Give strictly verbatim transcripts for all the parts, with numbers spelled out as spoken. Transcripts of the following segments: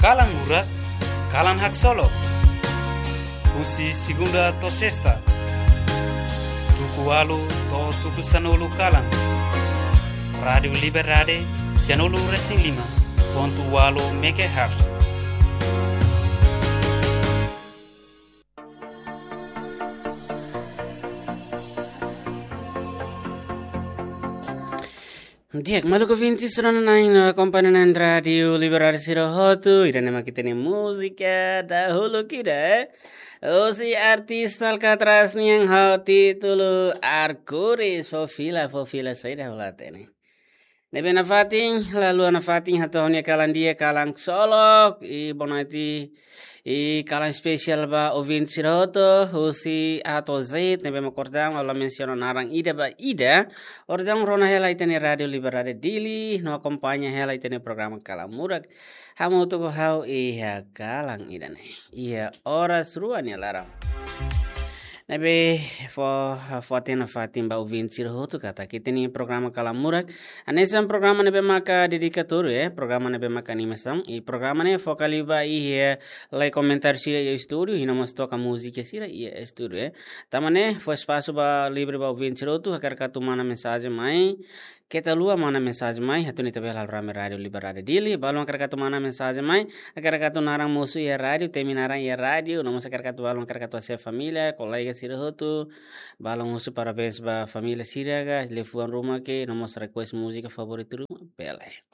Kalan Murak, kalan haksolok. Husi segunda to'o sesta, tuku ualu to'o tuku sanulu kalan. Rádiu Liberdade, sianulu resin lima pontu ualu megahertz. Di'ak, maluk ouvinte sira-nia na'in no akompaña na'in Rádiu Liberdade sira hotu, ida-ne'e mak ita-nia múzika dahuluk ida, eh. Husi artis Alcatraz nian ho títulu Arco-Íris, fó fila, fó fila saida hola tene. Ne'ebé nafatin, lalu nafatin hato'o ha'u-nia kalan di'ak, kalan haksolok, i boa noite, i kalan espesiál ba ouvinte sira hotu, husi A to'o Z, ne'ebé mak kordang, ha'u la mensiona naran ida ba ida, kordang rona hela ita-nia Rádiu Liberdade Dili, no akompaña hela ita-nia programa Kalan Murak, hamutuk ho ha'u iha kalan ida-ne'e, iha oras rua nia laran. Ne'ebé fó, fó hatene nafatin ba ouvinte sira hotu katak ita-nia programa Kalan Murak hanesan programa ne'ebé maka dedikatóriu, eh, programa ne'ebé maka animasaun, i programa ne'e foka liu ba iha lee komentáriu sira iha estúdiu, i no mós toka múzika sira iha estúdiu, eh. Tanba ne'e fó espasu ba livre ba ouvinte sira hotu, hakarak atu manda mensajen mai, keta haluha manda mensajen mai, atu nune'e ita bele halo rame Rádiu Liberdade Dili, balun hakarak atu manda mensajen mai, hakarak atu naran mosu iha rádiu, temi naran iha rádiu, no mós hakarak atu balun hakarak atu hase'e família, kolega sira hotu, balun husu parabéns ba família sira ka, liafuan ruma ka, no mós request múzika favoritu ruma, bele.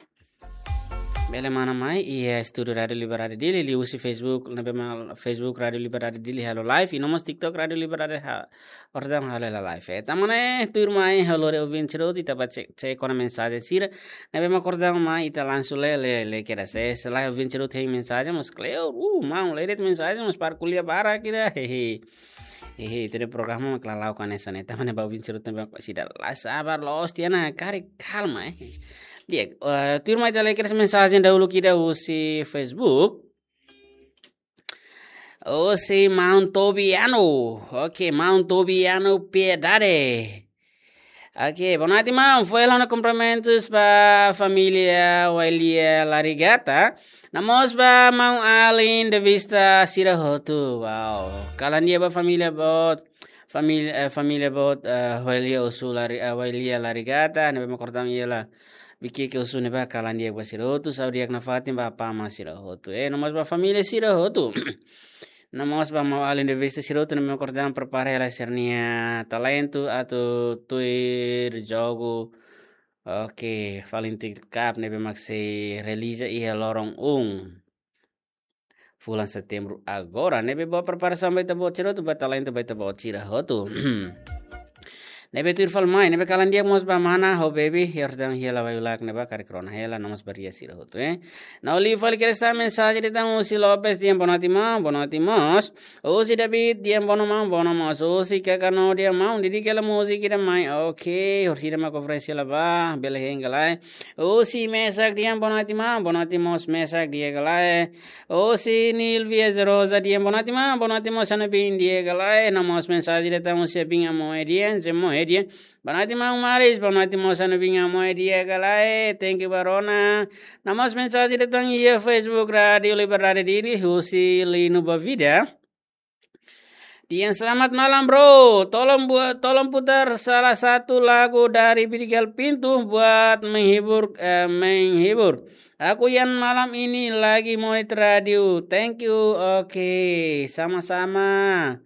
Bele manda mai iha estúdiu Rádiu Liberdade Dili, liuhusi Facebook, ne'ebé mak Facebook Rádiu Liberdade Dili halo live, i no mós TikTok Rádiu Liberdade ha-, kordang halo hela live. Eh, tanba ne'e, tuirmai, ha'u lori ouvinte sira hotu, ita bá cek, cek ona mensajen sira. Ne'ebé mak kordang mai, ita langsung lee, lee, lee kedas. Se, se lae ouvinte sira hotu hein mensajen, mós kleur, uh, maun, lee de'it mensajen, mós para ko'alia barak ida, hehe. Hehe, ita-nia programa mak la'o hanesan ne'e, tanba ne'e ba ouvinte sira hotu ne'ebé mak seidauk la sabar, loos tiha ona, karik kalma, eh. Di'ak, eh, tuirmai ita lee kedas mensajen dahuluk ida husi Facebook. Husi maun Tobiano. Oke, maun Tobiano Piedade. Oke, boa noite, maun. Fó hela ona kumprimentus ba família Wailia Larigata. No mós ba maun Alin de Vista sira hotu. Wow. Kalan di'ak ba família boot. Família, eh, família boot, eh, Wailia Osu Lari-, eh, Wailia Larigata. Ne'ebé mak kordang iha la Bikieke Osu ne'ebá, kalan di'ak ba sira hotu, saúde di'ak nafatin ba apá amá sira hotu. Eh, no mós ba família sira hotu. No mós ba maun Alin de Vista sira hotu, ne'ebé mak kordang prepara hela sira-nia talentu atu tuir jogu. Oke, Valentine Cup ne'ebé mak sei realiza iha loron um fulan Setembru agora, ne'ebé boa preparasaun ba ita-boot sira hotu, ba talentu ba ita-boot sira hotu. Ne'ebé tuir fali mai, ne'ebé kalan di'ak mós ba mana ho baby, Jordan hela wai ulak ne'ebá karik rona hela, no mós ba ria sira hotu, eh. No liu fali kedas tan mensajen de'it tan husi Lopes, di'ak, boa noite maun, boa noite mós. Husi David, di'ak, boa noite maun, boa noite mós. Husi Kakano, di'ak maun, dedika hela múzika ida mai. Oke, horisehik mak oferese hela ba, bele hein ka lae. Husi Mesak, di'ak, boa noite maun, boa noite mós Mesak, di'ak ka lae. Husi Nilvia Rosa, di'ak, boa noite maun, boa noite mós, ha'u-nia biin, di'ak ka lae. No mós mensajen de'it tan husi biin Amoe, di'ak, Zemoe, di'ak. Boa noite maun Maris, boa noite mós, ha'u-nia biin Amoe, di'ak ka lae. Thank you ba rona. No mós mensajen de'it tan iha Facebook Rádiu Liberdade Dili, husi Lino Bavida. Di'ak, selamat malam, bro. Tolong buat, tolong putar salah satu lagu dari Bidigal Pintu buat menghibur, eh, menghibur. Aku yang malam ini lagi monitor radio. Thank you. Oke, sama-sama.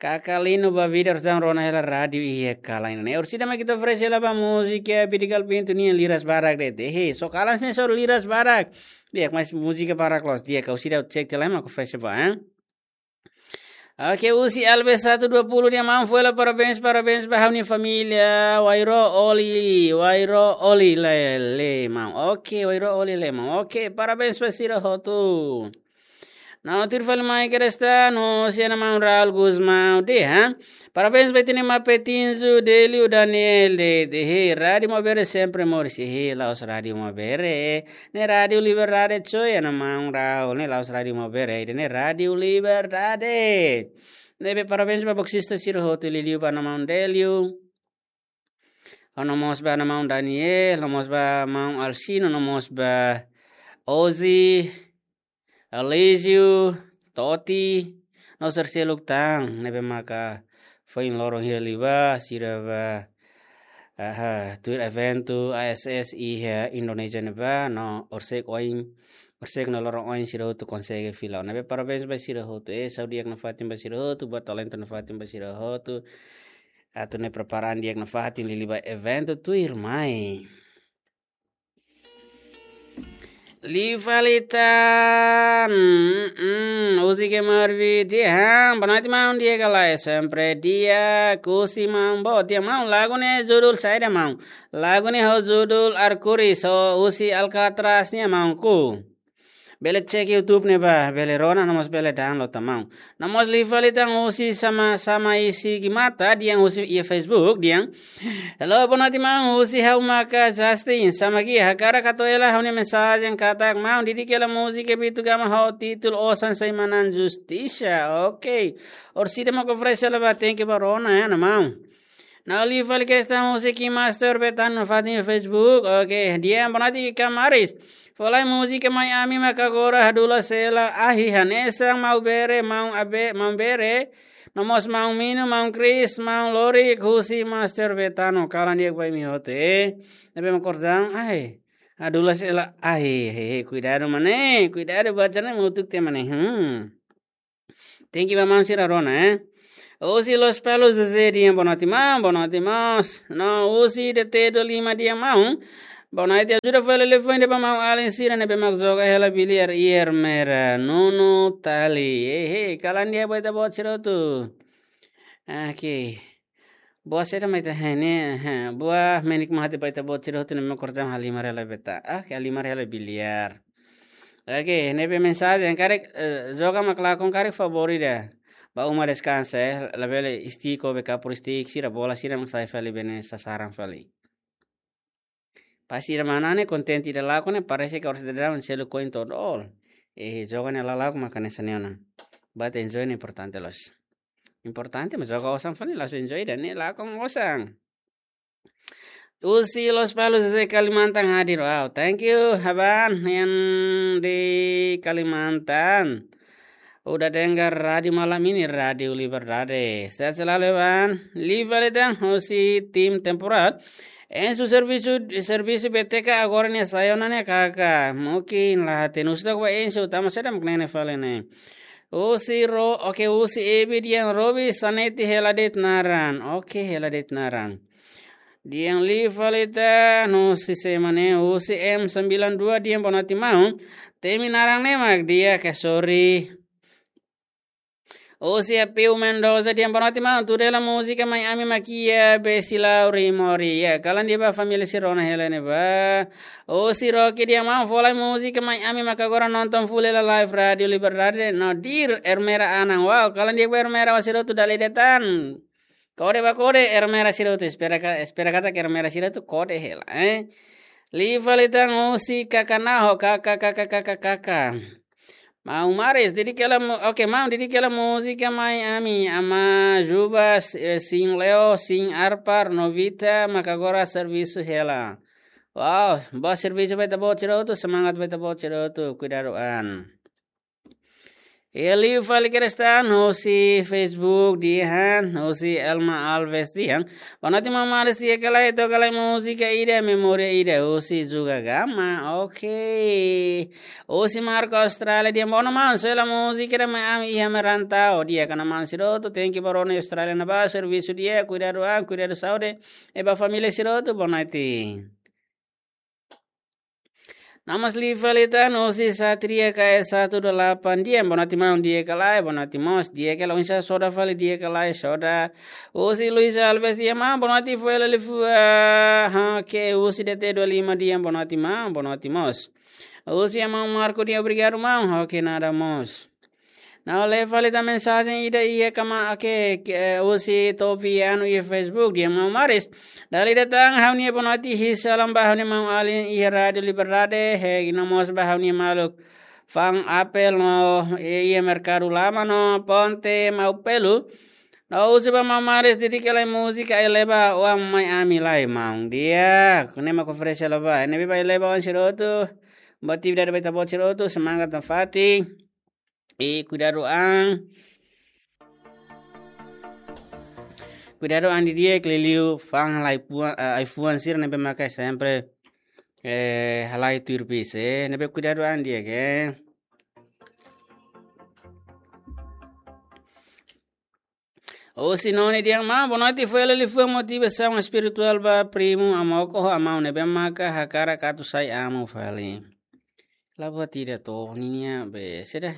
Kaka Lino Bavida, horisehik rona hela rádiu iha kalan ne'e. Horisehik mak ita oferese hela ba múzika Bidigal Pintu nian, liras barak de'it. He, só kalan ne'e só liras barak. Di'ak, mas múzika barak loos. Di'ak, horisehik cek tiha lai mak oferese ba, eh. Oke, husi Alves satu dua puluh, di'ak maun, fó hela parabéns, parabéns ba ha'u-nia família Wairo Oli, Wairo Oli le, le maun. Oke, Wairo Oli le maun. Oke, parabéns ba sira hotu. No tuir fali mai kedas tan husi ha'u-nia maun Raul Gusmão dehan. Parabéns ba ita-nia maun Petinzu, Delio, Daniel, de, de, he, Rádiu Maubere sempre moris, he, la'ós Rádiu Maubere. Ne'e Rádiu Liberdade, coy, ha'u-nia maun Raul, ne'e la'ós Rádiu Maubere, ne'e Rádiu Liberdade. Ne'ebé parabéns ba boksista sira hotu, liuliu ba ha'u-nia maun Delio. No mós ba ha'u-nia maun Daniel, no mós ba maun Alcino, no mós ba Ozi. Alísio, Toti, no sira seluk tan, ne'ebé maka foin loron hira liubá, sira bá, aha, tuir eventu A S S iha Indonézia ne'ebá, no horisehik oin, horisehik no loron oin sira hotu konsege fila. Ne'ebé parabéns ba sira hotu, eh, saúde di'ak nafatin ba sira hotu, buat talentu nafatin ba sira hotu. Atu ne'e prepara an di'ak nafatin liuliu ba eventu tuirmai. Liu fali tan, mm, mm, husi Kemar Viti, ha, boa noite, maun, di'ak ka lae, sempre di'ak, husi maun, boa, di'ak, maun, lagu ne'e judul saida, maun? Lagu ne'e ho judul Arkuris, ho husi Alcatraz nian, maun, ku. Bele cek YouTube ne'ebá, bele rona, no mós bele download tan, maun. No mós liu fali tan husi sama, sama isi gimata, dehan husi iha Facebook, dehan. Hello, boa noite, maun. Husi ha'u maka Justin, sama gi, hakarak hato'o hela ha'u-nia mensajen katak, maun, didik hela múzika Bitu Gama ho títulu Osan Seimanan Justisa. Ok. Orsida mak oferese hela ba, thank you ba rona, ya, no maun. No liu fali kestaun husi Kim Master Betano fatin Facebook. Ok, dehan boa noite, Kamaris. Fó lai múzika mai ami maka agora hadulas hela ahi hanesan maun Bere, maun Abe, maun Bere. No mós maun Mino, maun Chris, maun Lori, husi Master Betano. Kalan di'ak ba imi hotu, eh. Ne'ebé mak kordang, ai. Hadulas hela ahi, he, he, kuidadu maun, eh. Kuidadu baca ne'e mutuk te maun, eh. Hmm. Thank you ba maun sira rona, eh. Husi Lospalos José dehan boa noite, maun, boa noite, maun. No husi D T dua lima dehan maun. Boa noite, ajuda fali telefone ba maun-alin sira ne'ebé mak joga hela biliar iha Ermera. Nuno Tali. Eh, eh, kalan di'ak ba ita-boot sira hotu. Ok. Buat saida mai ita hene, ha, buat menik mahati ba ita-boot sira hotu ne'ebé mak kordang halimar hela beta. Ah, ke halimar hela biliar. Ok, ne'ebé mensajen karik, eh, joga mak lakon karik favór ida. Ba uma deskansa, eh, labele stick ho be kapur stick sira bola sira mak sai fali bene sasaran fali. Pas sira manán ne'e kontente ida lakon ne'e parese ke orsida daun selu koin todol. Eh, joga ne'e la lakon maka hanesan ne'e ona. But enjoy ne'e importante loos. Importante mak joga osan fali langsung enjoy dan ne'e lakon osan. Husi Lospalos José Kalimantan hadir. Wow, thank you, Haban, yang di Kalimantan. Udah dengar radio malam ini, Radio Liberdade. Sehat selalu, Haban. Liu fali tan husi tim temporal. Ensu servisu, servisu B T K agora ne'e sai ona ne'e kaka. Mungkin la hatene, husu tok ba Ensu, tama saida mak ne'e ne'e fali ne'e. Husi Ro, ok, husi Ebi dehan Robi Saneti hela de'it naran. Ok, hela de'it naran. Dehan liu fali tan, husi sé mak ne'e, husi M sembilan dua dehan boa noite maun. Temi naran ne'e mak di'ak ka, sorry. Husi Apeu Mendoza dehan boa noite maun. Tuda hela múzika mai ami mak iha Besilau Rimori. Ya, kalan di'ak ba família sira rona hela ne'ebá. Husi Rocky dehan maun, fó lai múzika mai ami maka agora nonton full hela live Radio Liberdade no Dir Ermera Anan. Wow, kalan di'ak ba Ermera, ba sira hotu dala ida tan. Kode ba kode, Ermera sira hotu, espera ka, espera katak Ermera sira hotu kode hela, eh. Liu fali tan husi Kakanaho, kaka, kaka, kaka, kaka. Maun Maris, didik hela mu-, ok, maun, didik hela múzika mai ami, Ama Juba, eh, sin Leo, sin Arpar, Novita, maka agora servisu hela. Wow, boa servisu ba ita-boot sira hotu, semangat ba ita-boot sira hotu, kuidadu an. Liu fali kestaun husi Facebook dehan, husi Elma Alves dehan. Boa noite, maun Maris, di'ak ka lae, toka lai múzika ida, memória ida, husi Juga Gama, ok. Husi Marco Austrália dehan, boa noite maun, sela múzika ida mai ami iha Merantau, di'ak ka maun sira hotu, thank you ba rona Austrália ne'ebá, servisu di'ak, kuidadu an, kuidadu saúde, i ba família sira hotu, boa noite. No mós liu fali tan husi Satria K S satu dua delapan dehan, boa noite maun, di'ak ka lae, boa noite mós, di'ak ka lae, oinsá soda fali, di'ak ka lae, soda. Husi Luis Alves dehan maun, boa noite, fó hela liafuan, ha, ke husi D T dua lima dehan, boa noite maun, boa noite mós. Husi maun Marco dehan, obrigadu maun, ha, ke nada mós. No liu fali tan mensajen ida iha kama, ok, ke, eh, husi Topi Anu iha Facebook dehan maun Maris. Dala ida tan ha'u-nia boa noite, his salam ba ha'u-nia maun-alin iha Radio Liberdade, he, no mós ba ha'u-nia maluk fa'an Apel no, eh, iha Merkadu Lama no Ponte Maupelu. No husu ba maun Maris didik hela múzika Eleva Oan mai ami lai maun. Di'ak, ne'e mak oferese hela ba. Ne'ebé ba Eleva Oan sira hotu. Buat atividade ba ita-boot sira hotu, semangat nafatin. I kuidadu an. Kuidadu an didi'ak, liuliu fa'an halai fuan, eh, ai-fuan sira ne'ebé maka sempre, eh, halai tuir bis, eh. Ne'ebé kuidadu an di'ak, eh. Husi Noni dehan: Maun, boa noite, foin hela liafuan motivasaun espirituál ba primu Amoko ho Amaun ne'ebé maka hakarak atu sai amu fali. La buat ida to, ninia be, saida.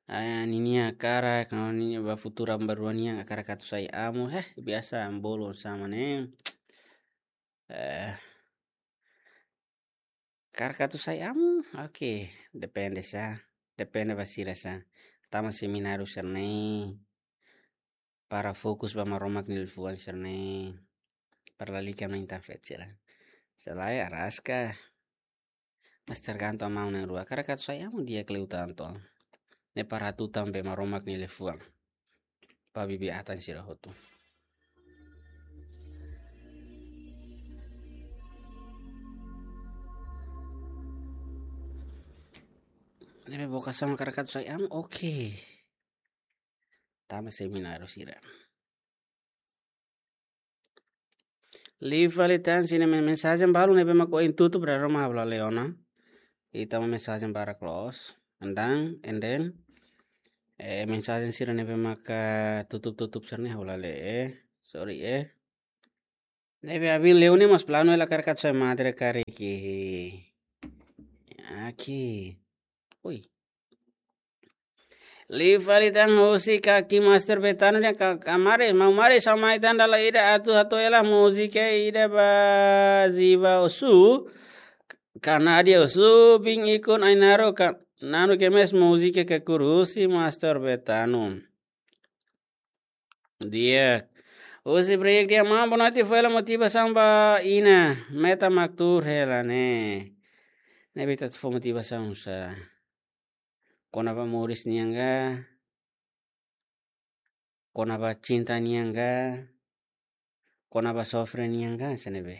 Ah, ninia hakarak, ninia ba futuru aban-bainrua nian hakarak atu sai amu, heh, biasa bolu sama ne'e. Eh, hakarak atu sai amu, oke, depende sá, depende ba sira sá. Tama semináriu sira-ne'e, para fokus ba Maromak nia liafuan sira-ne'e, para lalika main tafet sira. Selae araska, mas tergantung Amaun na'in-rua. Hakarak atu sai amu di'ak liután to. Ne'e para atu tama ba Maromak nia liafuan. Ba bibi-atan sira hotu. Ne'ebé vokasaun hakarak atu sai amu, oke. Tama semináriu sira. Liu fali tan sira-nia men-, mensajen balu ne'ebé mak ohin tutup, dala ruma ha'u la lee ona. Ita mak mensajen barak loos. And then, and then, eh, mensajen sira ne'ebé maka tutup-tutup sira-ne'e ha'u la lee, eh. Sorry, eh. Ne'ebé abin leu ne'e mas planu hela hakarak atu sai madre karik. Aki. Ui. Liu fali tan husi Kaki Master Betano dehan: Ka-, Kak Maris, Maun Maris, ha'u mai tan dala ida atu hato'o hela múzika ida ba Ziva Osu. Kanadia Osu, bin ikun Ainaro ka, nanu ke mes múzika ke kurusi Master Betano. Di'ak. Husi Break dehan: Maun, boa noite, fó hela motivasaun ba Ina, Meta mak tuur hela ne'e. Ne'ebé atu fó motivasaun sá? Kona-ba moris nian ka? Kona-ba cinta nian ka? Kona-ba sofre nian ka, sá ne'ebé?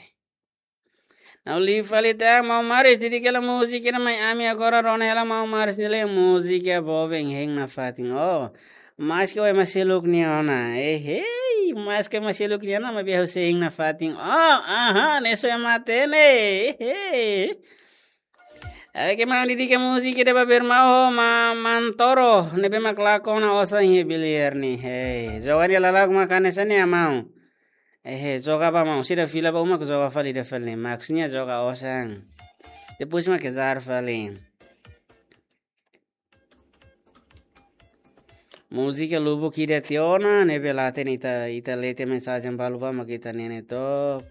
Nau liu fali tan, Maun Maris, dedika hela múzika ida mai ami agora, rona hela Maun Maris nia letra, múzika boa, hein nafatin. Oh, maske oe ema seluk nia ona. Eh, hei, maske oe ema seluk nia ona, maibé ha'u sei hein nafatin. Oh, aha, ne'e só ema hatene. Eh, hei. Oke, maun, dedika múzika ida ba Bermau ho Ma-, Mantoro, ne'ebé mak lakon ona osan iha biliar ne'e. Hei, joga nia lalak mak hanesan ne'e, maun. Eh, hei, joga ba, maun. Sira fila ba uma, joga fali ida fali ne'e. Maksudnya joga osan. Depois mak kejar fali. Múzika lubuk ida tiha ona, ne'ebé la hatene, ita, ita lee tiha mensajen balu ba mak ita hatene to.